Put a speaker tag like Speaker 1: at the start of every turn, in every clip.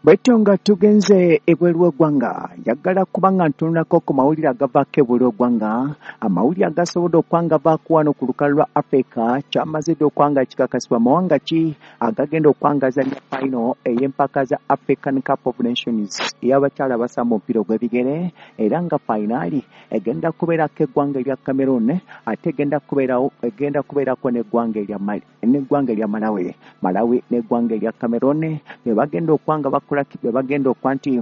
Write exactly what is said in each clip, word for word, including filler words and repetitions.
Speaker 1: Bwetyo nga tugenze ebweru w'eggwanga, njagala kubanga ntunulako ku mawulire agavaako ebweru w'eggwanga, amawulire agasobodde okwanga vaako wano ku lukalu lwa Africa. Kyamaze dda okwanga kikakasibwa mawanga ki agagenda okwangazanya final ey'empaka za African Cup of Nations ey'abakyala abasamba omupiira ogw'ebigere, era nga finali egenda kubeerako eggwanga erya Cameroon, ate egenda kubeerawo egenda kubeerako n'eggwanga erya Mali n'eggwanga erya Malawi. Malawi n'eggwanga erya Cameroon be bagenda okwanga bakola be bagenda okwa nti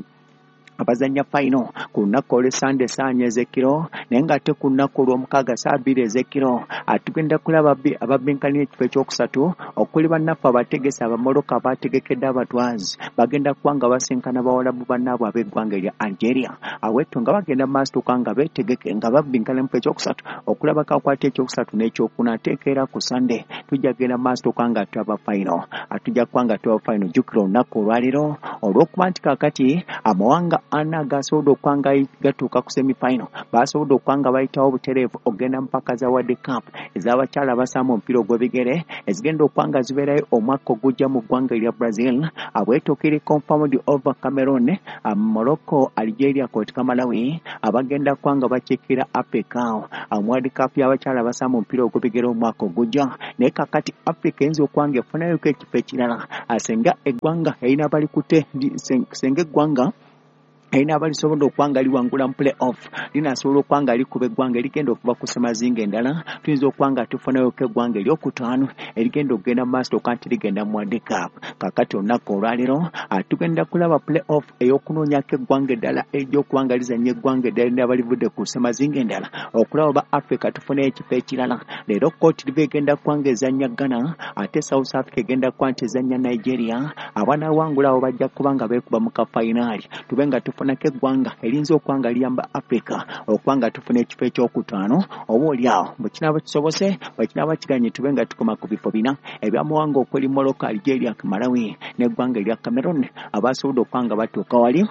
Speaker 1: abazannya final ku lunaku olw'Essande ssaawa ez'ekiro, naye ng'ate ku lunaku olw'omukaaga ssaawa bbiri ez'ekiro atugenda kulaba ababinkanira ekifo ekyokusatu okuli bannaffe abategesi Abamorocco abategekedde abatwazi bagenda kuba nga basinkana bawalabu bannaabwe ab'eggwanga erya Algeria. Awetto nga bagenda mu maaso tuka nga beetegeke nga babinkana mu kifo ekyokusatu okulabako akwata ekyokusatu n'ekyokuna. Ate era ku Sande tujja kugenda mu maaso tuka nga tulaba final, atujja kuba nga tulaba final. Jjukira olunaku olwaleero olw'okuba nti kaakati amawanga ana gasobodde okwanga gatuuka ku semifinal, basobodde okwanga bayitawo butereevu ogenda mpaka za World Cup ez'abakyala abasamba omupiira ogw'ebigere ezigenda okwanga zibeerayo omwaka ogujja mu ggwanga erya Brazil. Abwetyo kiri confirmed over Cameroon, Morocco, Algeria kwotika Malawi abagenda kwanga bakiikira Africa mu World Cup y'abakyala abasamba omupiira ogw'ebigere omwaka ogujja. Naye kaakati Africa eyinza okwanga efunayoko ekifo ekirala senga eggwanga erina balikute senga eggwanga erina abalisobodde okwanga liwangula mu play off linasobola okwanga likuba eggwanga erigenda okuva ku ssemazinga endala. Tuyinza okwanga tufunayoko eggwanga eryokutaano erigenda okugenda mu maaso okuba nti ligenda mu World Cup. Kaakati olunaku olwaleero tugenda kulaba play off ey'okunoonyako eggwanga eddala ery'okuba nga lizannya eggwanga eddala erinaaba livudde ku ssemazinga endala okulaba oba Africa tufunayo ekifo ekirala. Leero Cote d'Ivoire egenda kuba nga ezannya Ghana, ate South Africa egenda kuba nti ezannya Nigeria. Abanaawangula abo bajja kuba nga beekuba mu kafayinaali tube nga tufunako eggwanga eriyinza okuba nga liyamba Africa okuba nga tufuna ekifo ekyokutaano, oba oli awo bwe kinaaba kisobose, bwe kinaaba kiganye tube nga tukoma ku bifo bina ebyamawanga okuli Morocco, Algeria, Malawi n'eggwanga erya Cameroon abasobodde okuba nga batuuka wali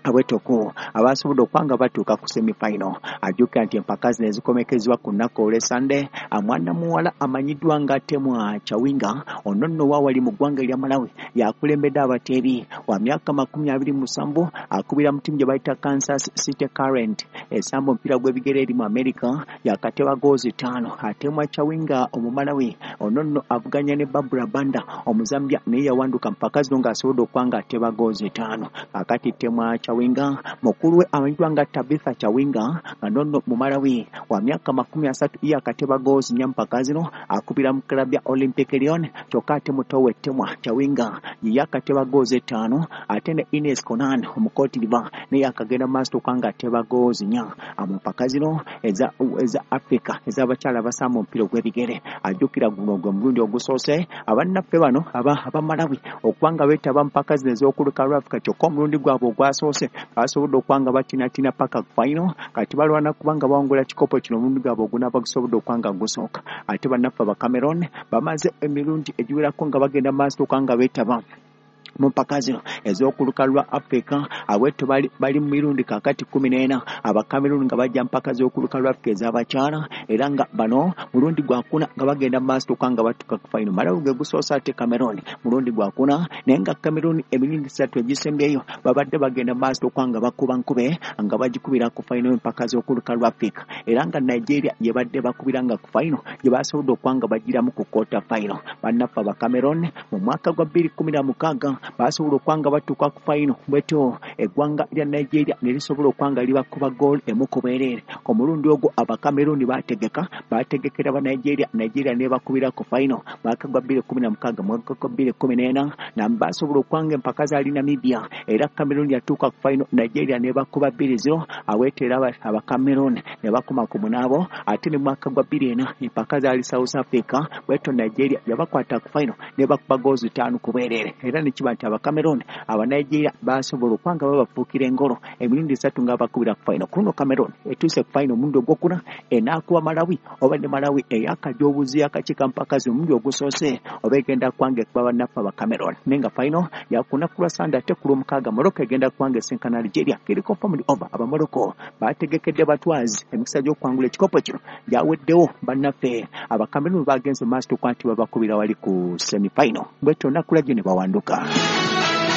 Speaker 1: abwetoko abasobodde okuba nga batuuka ku semifinal. Ajjukira nti empaka zino ezikomekezebwa ku lunaku olw'Essande, mwana muwala amanyiddwa nga Temwa Chawinga ono nno wa wali mu ggwanga erya Malawi yakulembedde abateebi wa myaka makumi abiri mu musanvu, akubira mu ttiimu gye bayita Kansas City Current esamba omupiira gw'ebigere eri mu America, yakateba goozi ttaano. Temwa Chawinga Omumalawi ono nno avuganya ne Barbara Banda Omuzambia, naye yawanduka mpaka zino ng'asobodde okuba nga ateba goozi ttaano. Kaakati Temwa Chawinga mukulu we amanyiddwa nga Tabitha Chawinga nga nonno Mumalawi wa myaka makumi asatu ye akateba goozi nnya mpaka zino, akubira mu club ya Olympic Lyon. Kyokka ate muto we Temwa Chawinga ye akateba goozi ttaano, ate ne Ines Konan omu Cote d'Ivoire naye akagenda mu maaso okuba nga ateba goozi nnya mu mpaka zino eza eza Africa ez'abakyala abasamba omupiira ogw'ebigere. Ajjukira guno gwe mulundi ogusoose abannaffe bano aba Abamalawi okuba nga beetaba mpaka zino ez'okuluka lwa Africa, kyokka omulundi gwabwe ogwasoose basobodde okuba nga batinatina paka ku final. Kati balwana kuba nga bawangula kikopo kino omulundi gwabwe ogunaaba gusobodde okuba nga gusooka. Ate bannaffe aba Cameroon bamaze emirundi egiwerako nga bagenda mu maaso okuba nga beetaba mu mpaka zino ez'okuluka lwa Africa. Abwetto bali, bali mu mirundi kaakati kkumi n'ena aba Cameroon nga bajja mpaka z'okuluka lwa Africa ez'abakyala, era nga bano mulundi gwakuna nga bagenda mu maaso okuba nga batuuka ku final. Malawi gwe gusoose, ate Cameroon mulundi gwakuna, naye nga Cameroon emirundi esatu egisembyeyo babadde bagenda mu maaso okuba nga bakuba nkube nga bagikubira ku final empaka z'okuluka lwa Africa, era nga Nigeria gye badde bakubira nga ku final gye basobodde okuba nga bagiramu ku quarter final. Bannaffe aba Cameroon mu mwaka gwa bbiri kkumi na mukaaga basobola okuba nga batuuka ku final, bwetyo eggwanga lya Nigeria ne lisobola okuba nga libakuba goal emu ku bwereere. Ku mulundi ogwo aba Cameroon baategeka baategekera ba Nigeria, Nigeria n'ebakubira ku final mwaka gwa bbiri kkumi na mukaaga. Mwaka gwa bbiri kkumi n'ena na basobola okuba nga empaka zaali Namibia, era Cameroon yatuuka ku final, Nigeria n'ebakuba bbiri zero, aweeta era aba Cameroon ne bakoma ku munaabo. Ate ne mwaka gwa bbiri ena empaka zaali South Africa, bwetyo Nigeria yabakwata ku final n'ebakuba goozi ttaano ku bwereere, era ne kiba nti aba Cameroon aba Nigeria basobola okuba nga babafuukira engolo emirundi esatu nga bakubira ku final. Ku luno Cameroon etuuse ku final omulundi ogwokuna, enaakuba Malawi oba ne Malawi eyakajja obuzi akakiika mpaka zino omulundi ogusoose oba egenda kubanga ekuba bannaffe aba Cameroon, naye nga final yakunaku lwa Sande. Ate ku lwomukaaga Morocco egenda kubanga esinkana Algeria. Kiri confirmed over aba Morocco bategekedde batwazi emikisa gy'okuwangula ekikopo kino gyaweddewo. Bannaffe aba Cameroon bagenze mu maaso okuba nti babakubira wali ku semifinal, bwetyo olunaku lwajjo ne bawanduka.